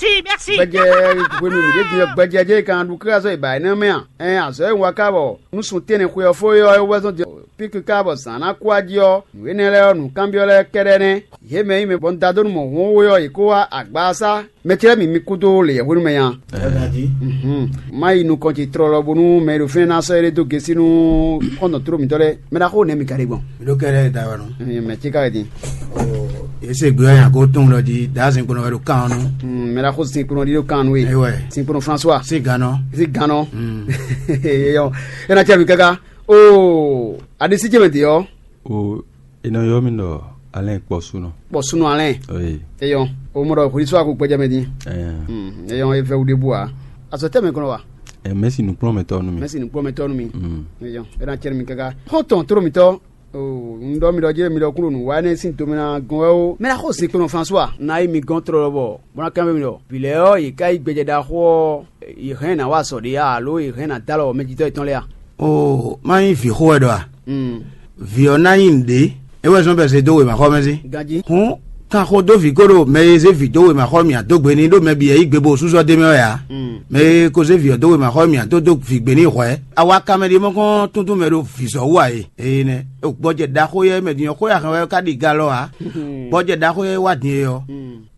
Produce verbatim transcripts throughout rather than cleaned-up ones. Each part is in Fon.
Merci, merci. Gbɛjɛ hwenu mǐ ɖe din ɔ́, gbɛjɛ jɛ kan ɖu káká sɔ́ yi ba énɛ́ mɛ a? Ɛn azɔ̌ e un wa ká bɔ nú sun tɛ́nnɛ xwe ɔ́ fó é ɔ́ é wɛ zɔ́n din píkí ká bɔ zǎn ná kú wá jí ɔ́, nǔ énɛ́ lɛ́ɛ ɔ́, nǔkanbyɔ́ lɛ́ɛ kɛ́ɖɛ́ nɛ́. Yě mɛ e nyí mɛ bɔ un da dó nú mɔ̌ hwɔ́n we ɔ́, yě kó wá agbaza. Mɛ ce lɛ́ɛ mǐ mi kúdó lě hwenu mɛ nya. Má yi nukɔn ce tlɔlɔ bónú mɛ e ɖo fínɛ́ ná sɔ́ éɖée dó gěsí nú xɔ́ntɔn tló mǐtɔn lɛ́ɛ. Mɛ ɖaxó nɛ́ mi ka ɖe gbɔn? Mi ɖó kɛ́ɖɛ́ da wɛ nɔ. Mɛ ce ka wɛ din? Yě se gbé ɔ́ nyan kó tunwun ɖɔ jí dǎ zinkpo nɔ wɛ ɖo kan ɔ́ nú. Mɛ ɖaxó zinkpo nɔ ɖi ɖo kan nú we. Ewɛ. Zinkpo nɔ François. Sí gannɔ. Sí gannɔ. Eyɔ. É ná cɛ mi káká. Oo, aɖisí ce mɛ din ɔ́. O, è nɔ ylɔ́ mì ɖɔ Alɛ́n Kpɔsúnɔ. Kpɔsúnɔ Alɛ́n. Oyi. Eyɔ. O mɔ ɖɔ hwesú ako gbɛjɛ mɛ din. Ɛɛ. Eyɔ, e vɛ wu ɖe bu a. Azɔ tɛ mɛ kɔnɔ wa. Ɛ mɛsi nukplɔ́nmɛtɔ́ nú mi. Mɛsi nukplɔ́nmɛtɔ́ nú mi. Mm. Eyɔ, e na cɛ mi káká. Xɔ́ntɔn tló mitɔ. O, un ɖɔ mi ɖɔ jɛ mi ɖɔ kúrò nǔ wa énɛ́ sín tomɛ ná gɔn wɛ o. Mɛ ná xo sin kplɔ́n François. Ná yi mi gɔn tlɔlɔ bɔ bó ná kanbyɔ́ mi ɖɔ vǐ lɛ́ɛ ɔ́, yě ká yi gbɛjɛ ɖaxó ɔ́, yě hɛn ná wa azɔ̌ ɖé a, alo yě hɛn ná dó alɔ mɛjitɔ́ yětɔn lɛ́ɛ a? Oo, má nyí vǐ xó wɛ ɖɔ a? Vǐ ɔ́ ná nyí nǔɖé, é wɛ zɔ́n bɔ è zé dó wěmaxɔmɛ sí. Ganjí. Hǔn, kan xó dó vǐ kó ɖo mɛ e zé vǐ dó wěmaxɔmɛ mǐ ǎ dó gbe n'i ɖó mɛ bǐ e yí gbe bo súsɔ́ d'é mɛ wɛ ǎ. Mɛ e ko zé vǐ ɔ́ dó wěmaxɔmɛ mǐ ǎ dó dó vǐ gbe n'i hwɛ̌. A wá kanmɛ ɖé mɔ kɔn túntún mɛ ɖo vǐzɔ́ wú ǎ e. Ee nɛ́, gbɔjɛ ɖaxó yɛ mɛ din ɔ́ xó yɛ hɛn wɛ ká ɖi ga lɔ ǎ. Gbɔjɛ ɖaxó yɛ wá din e ɔ́,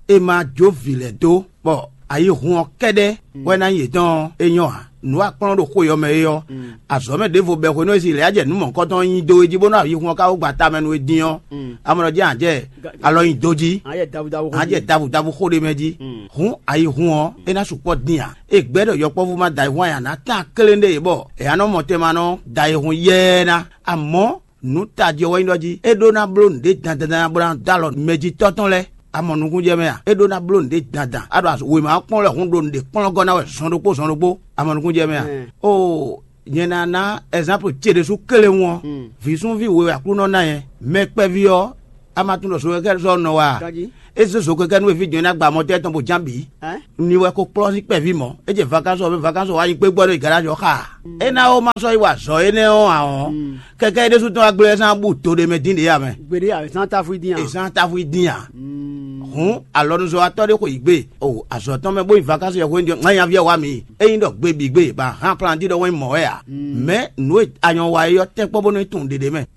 è ma jó vǐ lɛ́ɛ dó, bɔ ayihun ɔ́ kɛ́ɖɛ́ wɛ ná nyí yětɔn ɔ́, é nyɔ́ ǎ. Nǔ akplɔ́n ɖo xó yɔ mɛ é ɔ́, azɔ̌ mɛ ɖěvo bɛ́ hwenu e Izlayɛ́li jɛ nǔ mɔ̌hunkɔtɔn nyi dó é jí bó nɔ ayihun ɔ́ ká wú gba tamɛ nú é dín ɔ́, amɔ̌ jɛ ǎ jɛ alɔ nyi dó jí, ǎ jɛ davudavu xó ǎ jɛ ɖé. Davudavu xó ɖé mɛ jí. Hǔn ayihun ɔ́, é ná sukpɔ́ dín ǎ. É gbɛ́ ɖɔ yɔkpɔ́vú ma da ayihun aya ná tán klé ɖé bɔ è nǎ nɔ mɔ tɛn ma nɔ da ayihun yɛ́ɛ ná. Amɔ̌, nǔ tají ɔ́ wɛ nyí ɖɔ jí é ɖó ná bló nǔɖé dandan bó ná dó alɔ mɛjitɔ́ tɔn lɛ́ɛ. A mɔ nukúnjɛ mɛ a? É ɖó ná bló nǔɖé dandan. A ɖo wěma ɔ́ kpɔ́n wɛ hǔn ɖo nǔɖé kplɔ́n gɔ́ ná wɛ zɔn ɖokpó zɔn ɖokpó. A mɔ nukúnjɛ mɛ a? Oo, nyɛ ná ná ɛzanpu ce ɖésú kélewún ɔ́. Vǐ súnví we wɛ Aklúnɔ ná nyɛ. Mɛ kpɛví ɔ́, a ma tunwun ɖɔ zokɛkɛ́ sɔ́ nɔ wɛ a? É zé zokɛkɛ́ nú eví jɔn e ná gba mɔtɛ́ tɔn bó ján bǐ. Ní wɛ ko kplɔ́n sín kpɛví mɔ̌. É jɛ vakansu ɔ́, vakansu ɔ́ wá nyi kpé gbɔ ɖo garage ɔ́ xa. É ná ó má sɔ́ yi wa azɔ̌ énɛ́ ɔ́ ǎ ɔ́, kɛkɛ é ɖésú tɔn wá gblé ɛ sán bú do ɖé mɛ dín ɖě ǎ mɛ. Gbeɖé ǎ, zán táfú dín ǎ. È zán táfú dín ǎ. Hǔn alɔnuzɔ́watɔ́ ɖé xo yǐ gbe. O azɔ̌ tɔn mɛ bó yi vakansu yɛ hwenu ŋá nyaví ɔ́ wá mi. Ényí ɖɔ gbe bǐ gbe, ba hán plan jí ɖɔ wɛn mɔ̌ wɛ ǎ. Mɛ̌ nǔ e anyɔ wa é ɔ́ tɛ́nkpɔ́n bónú é tunwun ɖěɖé mɛ.